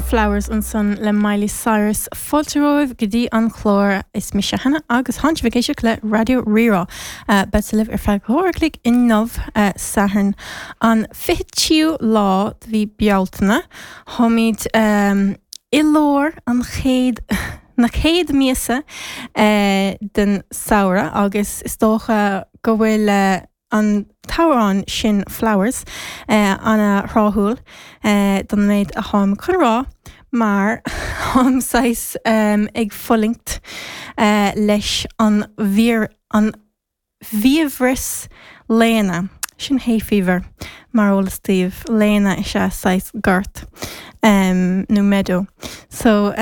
Flowers ansan le Miley Cyrus. Fáilte romhaibh go dtí an clár. Is mise Hannah agus tánn sibh ag éisteacht le Raidió Rí-Rá. Beadsa libh ar feadh dhá uair a chloig inniu, Satharn an 23ú lá de mhí Bealtaine. Táimid i lár an chéad na chéad míosa den samhradh agus is dócha go bhfuil an t-amhrán sin Flowers ana-thráthúil don méid atáim chun rá mar táim saghas ag fulaingt leis an bhfíor an bhfiabhras léana. Sin hay fever mar eolas daoibh. Léana is ea saghas gort nó meadow. So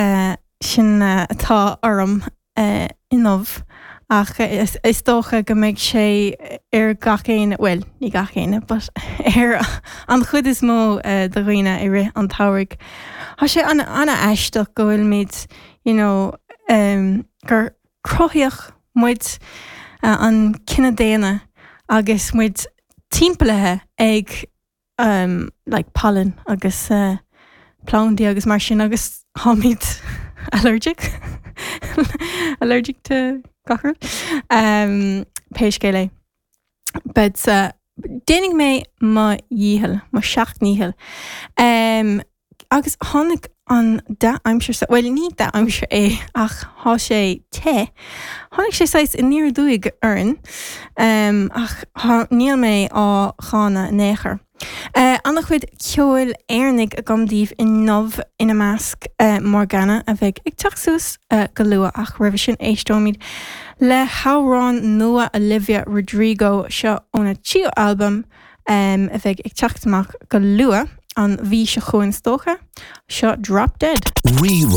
sin atá orm inniu ach is dócha go mbeidh sé ar gach éinne, bhuel, ní gach éinne, but ar an chuid is mó de dhaoine i rith an tsamhraidh. Tá sé an-aisteach go bhfuilimid, you know, gur cruthaíodh muid, an cine daonna, agus muid timpeallaithe ag like pailin agus plandaí agus mar sin agus táimid allergic allergic to gach rud. Pé scéal é. But déanfaidh mé mo dhícheall, mo sheacht ndícheall. Agus tháinig an dea-aimsir sa, bhuel ní dea-aimsir é ach thá sé te, tháinig sé saghas aniar aduaidh orainn ach thá, níl mé á cháineadh in aon chor. An-chuid ceoil Éireannaigh agam daoibh inniu, ina measc Morgana a bheidh ag teacht suas go luath ach roimhe sin éisteoimid le hamhrán nua Olivia Rodrigo, seo óna tríú albam, a bheidh ag teacht amach go luath, an mhí seo chugainn is dócha. Seo Drop Dead. Rí.